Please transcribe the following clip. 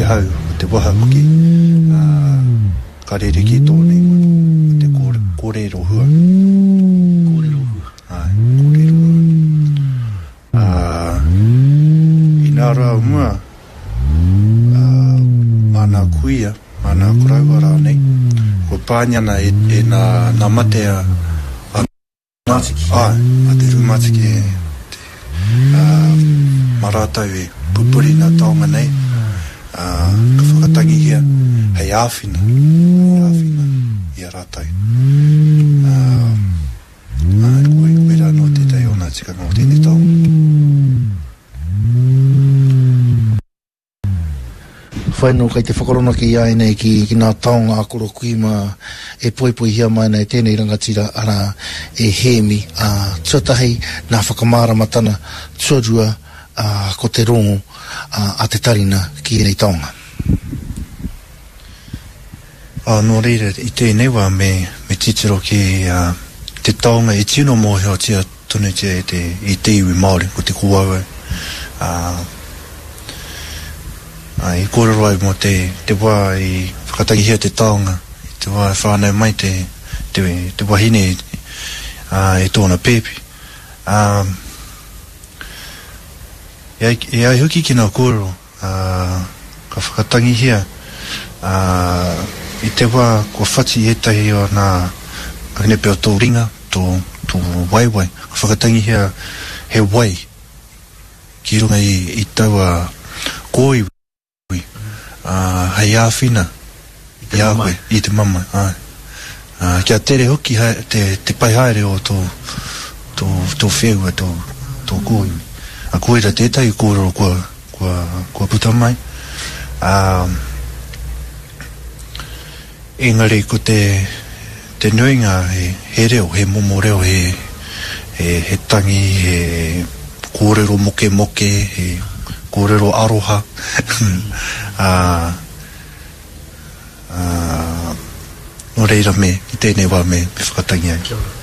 te hau, ko te waha hoki, ā, ka rerekē tōna ingoa, ko te kōrero hua. Kōrero hua. Āe, kōrero hua. Ā, inā rā o mua, ā, mā nā kuia, mā nā koroua rānei, kua pāngia ana e, e nā, nā mate a, a Rūmātiki. Āe, a te rūmātiki e, te, ā, mā rātou e pupuri nā taonga nei, ā, ka whakatangihia hei āwhina, hei āwhina i a rātou. Ā, āe, koe, koirā anō tētahi o nā tikanga o tēnei taonga. Whai anō kei te whakaronaki i a ēnei ki, ki ngā taonga a Koro Kui mā e poipoihia mai ana e tēnei rangatira, arā, e Hēmi, ā, tuatahi nā whakamāramatana, tuarua, ā, ko te rongo, ā, a te tarina ki ēnei taonga. Ā, nō reira, i tēnei wā me, me titiro ki, ā, te taonga e tino mōhiotia tonutia e te, i te iwi Māori, ko te kōauau, ā, ā, i kōrero ai mō te, te wā i whakatangihia te taonga, i te wā i whānau mai te, te, te wahine, ā, e tōna pēpi. Ā, e ai, e ai hoki ki ngā kōrero, ā, ka whakatangihia, ā, i te wā kua whati ētahi o nā akene pea o tō ringa, tō, tō waewae, ka whakatangihia he wai ki runga i, i taua kōiwi, ā, hei āwhina i a koe, i te mamae, āe. Ā, kia tere hoki hae, te, te pai haere o tō, tō, tō wheua, tō, tō kōiwi. Ā, koira tētahi kōrero kua, kua, kua puta mai. Ā, engari ko te, te nuinga he, he reo, he momo reo, he, he, he tangi, he kōrero mokemoke, he kōrero aroha. Ā, Ā, nō reira me, i tēnei wā me, me whakatangi ai. Kia ora.